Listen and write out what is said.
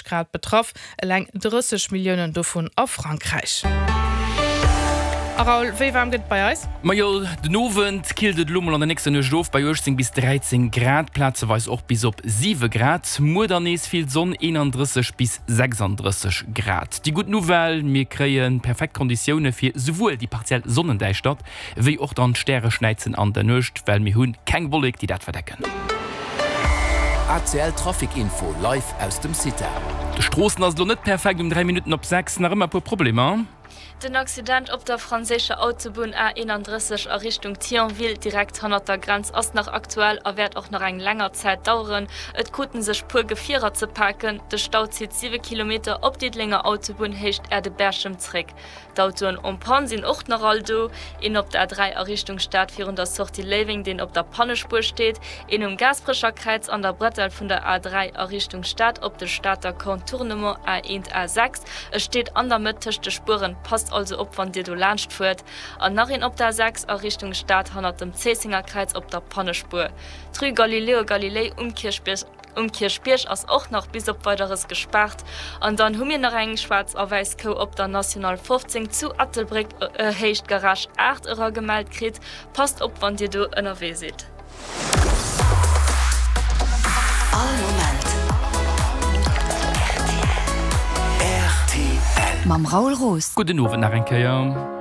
Grad betraff, eleng 30 Milliounen dovun a Frankräich. A Raoul, wéi waarm gëtt et bei eis? Majo, den Owend killt et elo mol an der nächster Nuecht of bei 18 bis 13 Grad, plazeweis och bis op 7 Grad. Muer dann nees vill Sonn, 31 bis 36 Grad. Déi gutt Nouvelle, Mir kréie perfekt Konditioune fir souwuel déi partiell Sonnendäischtert wéi och dann d'Stäreschnäizen an der Nuecht, well mir hu keng Wollek, déi dat verdecken. ACL Trafic Info live aus dem CITA. De Stroossen ass elo net perfekt, um 3 Minutten op 6 nach ëmmer e puer Problemer. Den Accident op der franséischer Autobunn A 31 a Richtung Thionville, direkt hannert der Grenz, ass nach aktuell a wäert och nach eng länger Zäit daueren. Et kruten sech puer Gefierer ze paken. De Stau zitt 7 Kilometer op Diddelenger Autobunn Héicht Äerde-Berchem zréck. D'Autoen en panne sinn och nach all do, een op der A3 a Richtung Stad virun der Sortie Léiweng, deen op der Pannespuer steet, een um Gaasperecher Kräiz an der Bretelle vun der A3 a Richtung Stad op de Stater Contournement A1 A6, e steet an der Mëtt tëscht de Spueren, passt also op wann Dir do laanscht fuert, an nach een op der A6 a Richtung Stad hannert dem Zéissenger Kräiz op der Pannespuer. D'Rue Galileo Galilei um Kierchbierg. Um Kierchbierg ass och nach bis op Weideres gespaart. An dann hu mir nach eng schwaarz a wäiss Kou op der National 15 zu Ettelbréck Héicht Garage 8 eragemellt kritt. Passt op wann dir do ënnerwee sidd. All Moment rtl. Mam Raoul Roos. Gudden Owend nach eng Kéier.